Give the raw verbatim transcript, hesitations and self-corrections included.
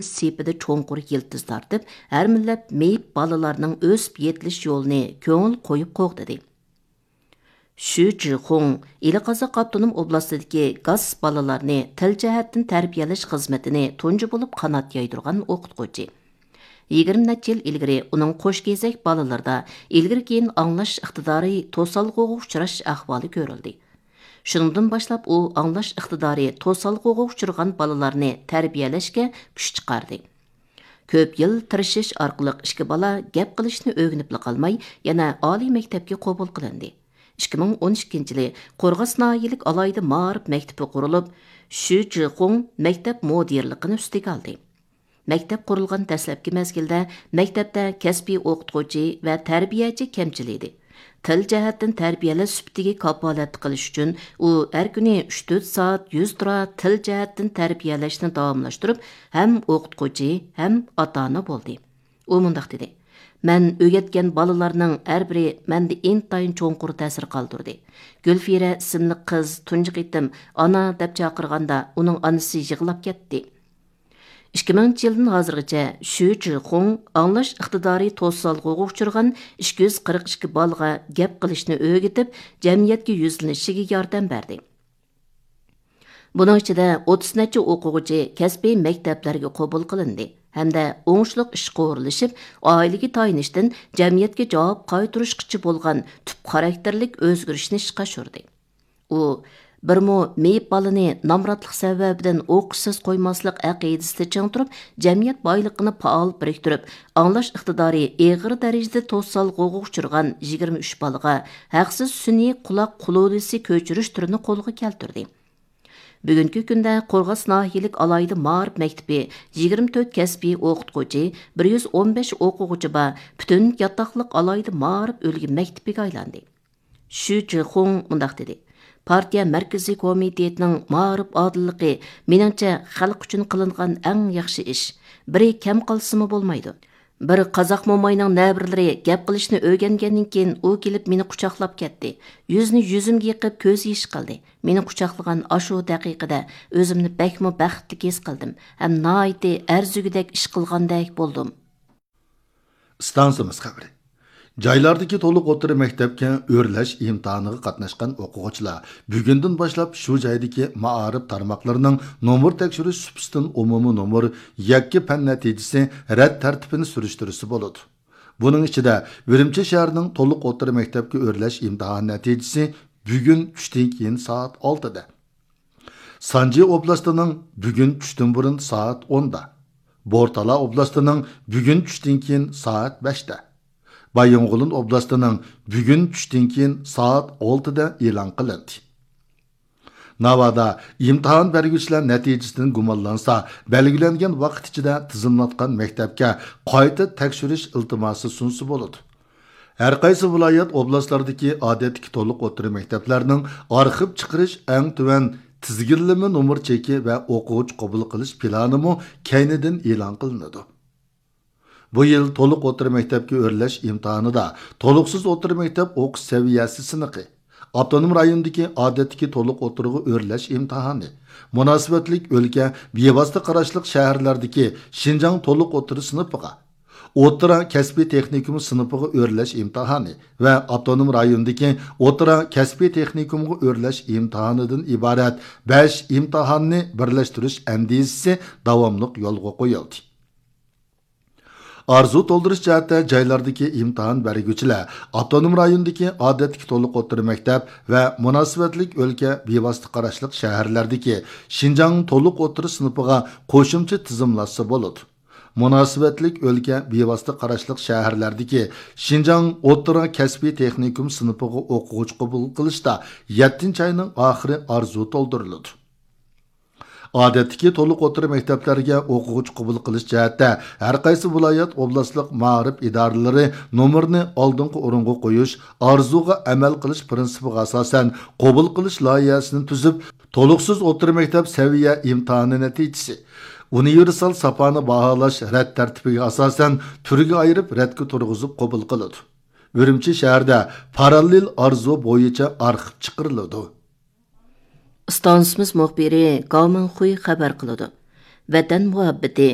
سېپىدە چوڭقۇر يىلتىز تارتىپ، ھەر مىللەت مېيىپ بالىلارنىڭ ئۆسۈپ يېتىلىش يولىنى كۆڭۈل قويۇپ قوغدىدى. شۈ جىخۇڭ ئىلى قازاق ئاپتونوم ئوبلاستىدىكى گاس بالىلارنى تىل جەھەتتىن تەربىيەلەش خىزمىتىنى تۇنجى بولۇپ قانات يايدۇرغان ئوقۇتقۇچى. يىگىرمە نەچچە يىل ئىلگىرى ئۇنىڭ قوش كېزەك بالىلىرىدا ئىلگىرى كېيىن ئاڭلاش ئىقتىدارى توسالغۇغا ئۇچراش ئەھۋالى كۆرۈلدى. شۇنىڭدىن باشلاپ ئۇ ئاڭلاش ئىقتىدارى توسالغۇغا ئۇچرىغان بالىلارنى تەربىيەلەشكە كۈچ چىقاردى. كۆپ يىل تىرىشىش ئارقىلىق ئىككى بالا گەپ قىلىشنى ئۆگىنىپلا قالماي، يەنە ئالىي مەكتەپكە قوبۇل قىلىندى. ئىككى مىڭ ئون ئىككىنچى يىلى قورغاس ناھىيەلىك ئالاھىدە مائارىپ مەكتىپى قۇرۇلۇپ، شۈ جىخۇڭ مەكتەپ مۇدىرلىقىنى ئۈستىگە ئالدى. مەكتەپ قۇرۇلغان دەسلەپكى مەزگىلدە مەكتەپتە كەسپىي ئوقۇتقۇچى ۋە تەربىيەچى كەمچىل ئىدى. تىل جەھەتتىن تەربىيەلەش سۈپىتىگە كاپالەتلىك قىلىش ئۈچۈن ئۇ ھەر كۈنى ئۈچ تۆت سائەت يۈز تۇرا تىل جەھەتتىن تەربىيەلەشنى داۋاملاشتۇرۇپ، ھەم ئوقۇتقۇچى، ھەم ئاتا-ئانا بولدى. ئۇ مۇنداق دېدى: «مەن ئۆگەتكەن بالىلارنىڭ ھەر بىرى مەندە ئىنتايىن چوڭقۇر تەسىر قالدۇردى. گۈلفىرە ئىسىملىك قىز تۇنجى قېتىم ئانا دەپ چاقىرغاندا، ئۇنىڭ ئانىسى يىغلاپ كەتتى.» ئىككى مىڭىنچى يىلدىن ھازىرغىچە شۈ جىخۇڭ ئاڭلاش ئىقتىدارى توسالغۇغا ئۇچرىغان ئىككى يۈز قىرىق ئىككى بالىغا گەپ قىلىشنى ئۆگىتىپ، جەمئىيەتكە يۈزلىنىشىگە ياردەم بەردى. بۇنىڭ ئىچىدە ئوتتۇز نەچچە ئوقۇغۇچى كەسپىي مەكتەپلەرگە قوبۇل قىلىندى ھەمدە ئوڭۇشلۇق ئىشقا ئورۇنلىشىپ، ئائىلىگە تايىنىشتىن جەمئىيەتكە جاۋاب قايتۇرۇشقىچە بولغان تۈپ خاراكتېرلىك ئۆزگىرىشنى ئىشقا ئاشۇردى. ئۇ بىرمۇ مېيىپ بالىنى نامراتلىق سەۋەبىدىن ئوقۇشسىز قويماسلىق ئەقىدىسىدە چىڭ تۇرۇپ، جەمئىيەت بايلىقىنى پائال بىرىكتۈرۈپ، ئاڭلاش ئىقتىدارى ئېغىر دەرىجىدە توسالغۇغا ئۇچرىغان يىگىرمە ئۈچ بالىغا ھەقسىز سۈنئىي قۇلاق قۇلۇلىسى كۆچۈرۈش تۈرىنى قولغا كەلتۈردى. بۈگۈنكى كۈندە قورغاس ناھىيەلىك ئالاھىدە مائارىپ مەكتىپى يىگىرمە تۆت كەسپىي ئوقۇتقۇچى، بىر يۈز ئون بەش ئوقۇغۇچى بار پۈتۈن ياتاقلىق ئالاھىدە مائارىپ ئۈلگە مەكتىپىگە ئايلاندى. شۈ جىخۇڭ مۇنداق دېدى: «پارتىيە مەركىزىي كومىتېتىنىڭ مائارىپ ئادىللىقى، مېنىڭچە، خەلق ئۈچۈن قىلىنغان ئەڭ ياخشى ئىش. بىرى كەم قالسىمۇ بولمايدۇ. بىر قازاق موماينىڭ نەۋرىلىرى گەپ قىلىشنى ئۆگەنگەندىن كېيىن، ئۇ كېلىپ مېنى قۇچاقلاپ كەتتى. يۈزىنى يۈزۈمگە يېقىپ، كۆز يېشى قىلدى. مېنى قۇچاقلىغان ئاشۇ دەقىقىدە ئۆزۈمنى بەكمۇ بەختلىك ھېس قىلدىم ھەم ناھايىتى ئەرزىگۈدەك ئىش قىلغاندەك بولدۇم.» ئىستانسىمىز خەۋىرى. جايلاردىكى تولۇق ئوتتۇرا مەكتەپكە ئۆرلەش ئىمتىھانىغا قاتناشقان ئوقۇغۇچىلار بۈگۈندىن باشلاپ شۇ جايدىكى مائارىپ تارماقلىرىنىڭ نومۇر تەكشۈرۈش سۇپىسىدىن ئومۇمىي نومۇر، يەككە پەن نەتىجىسى، رەت تەرتىپىنى سۈرۈشتۈرسە بولىدۇ. بۇنىڭ ئىچىدە، ئۈرۈمچى شەھىرىنىڭ تولۇق ئوتتۇرا مەكتەپكە ئۆرلەش ئىمتىھان نەتىجىسى بۈگۈن چۈشتىن كېيىن سائەت ئالتىدە، سانجى ئوبلاستىنىڭ بۈگۈن چۈشتىن بۇرۇن سائەت ئوندا، بورتالا ئوبلاستىنىڭ بۈگۈن چۈشتىن كېيىن سائەت بەشتە، بايىنغولىن ئوبلاستىنىڭ بۈگۈن چۈشتىن كېيىن سائەت ئالتىدە ئېلان قىلىندى. ناۋادا ئىمتىھان بەرگۈچىلەر نەتىجىسىدىن گۇمانلانسا، بەلگىلەنگەن ۋاقىت ئىچىدە تىزىملاتقان مەكتەپكە قايتا تەكشۈرۈش ئىلتىماسى سۇنسا بولىدۇ. ھەرقايسى ۋىلايەت، ئوبلاستلاردىكى ئادەتتىكى تولۇق ئوتتۇرا مەكتەپلەرنىڭ ئارخىپ چىقىرىش ئەڭ تۆۋەن تىزگىنلىمە نومۇر چېكى ۋە ئوقۇغۇچى قوبۇل قىلىش پىلانىمۇ كەينىدىن ئېلان قىلىنىدۇ. بۇ يىل تولۇق ئوتتۇرا مەكتەپكە ئۆرلەش ئىمتىھانىدا تولۇقسىز ئوتتۇرا مەكتەپ ئوقۇش سەۋىيەسى سىنىقى، ئاپتونوم رايوندىكى ئادەتتىكى تولۇق ئوتتۇرىغا ئۆرلەش ئىمتىھانى، مۇناسىۋەتلىك ئۆلكە بىۋاسىتە قاراشلىق شەھەرلەردىكى شىنجاڭ تولۇق ئوتتۇرا سىنىپىغا، ئوتتۇرا كەسپىي تېخنىكوم سىنىپىغا ئۆرلەش ئىمتىھانى ۋە ئاپتونوم رايوندىكى ئوتتۇرا كەسپىي تېخنىكومغا ئۆرلەش ئىمتىھانىدىن ئىبارەت بەش ئىمتىھاننى بىرلەشتۈرۈش ئەندىزىسى داۋاملىق يولغا قويۇلدى. ئارزۇ تولدۇرۇش جەھەتتە جايلاردىكى ئىمتىھان بەرگۈچىلەر ئاپتونوم رايوندىكى ئادەتتىكى تولۇق ئوتتۇرا مەكتەپ ۋە مۇناسىۋەتلىك ئۆلكە بىۋاسىتە قاراشلىق شەھەرلەردىكى شىنجاڭ تولۇق ئوتتۇرا سىنىپىغا قوشۇمچە تىزىملاتسا بولىدۇ. مۇناسىۋەتلىك ئۆلكە بىۋاسىتە قاراشلىق شەھەرلەردىكى شىنجاڭ ئوتتۇرا كەسپىي تېخنىكوم سىنىپىغا ئوقۇغۇچى قوبۇل قىلىشتا يەتتىنچى ئاينىڭ ئاخىرى ئارزۇ تولدۇرۇلىدۇ. ئادەتتىكى تولۇق ئوتتۇرا مەكتەپلەرگە ئوقۇغۇچى قوبۇل قىلىش جەھەتتە ھەرقايسى ۋىلايەت، ئوبلاستلىق مائارىپ ئىدارىلىرى نومۇرنى ئالدىنقى ئورۇنغا قويۇش، ئارزۇغا ئەمەل قىلىش پىرىنسىپىغا ئاساسەن قوبۇل قىلىش لايىھەسىنى تۈزۈپ، تولۇقسىز ئوتتۇرا مەكتەپ سەۋىيە ئىمتىھانى نەتىجىسى، ئۇنىۋېرسال ساپانى باھالاش رەت تەرتىپىگە ئاساسەن تۈرگە ئايرىپ رەتكە تۇرغۇزۇپ قوبۇل قىلىدۇ. ئۈرۈمچى شەھىرىدە پاراللېل ئارزۇ بويىچە ئارخىپ چىقىرىلىدۇ. ئىستانسىمىز مۇخبىرى گاۋ مىڭخۇي خەۋەر قىلىدۇ. ۋەتەن مۇھەببىتى،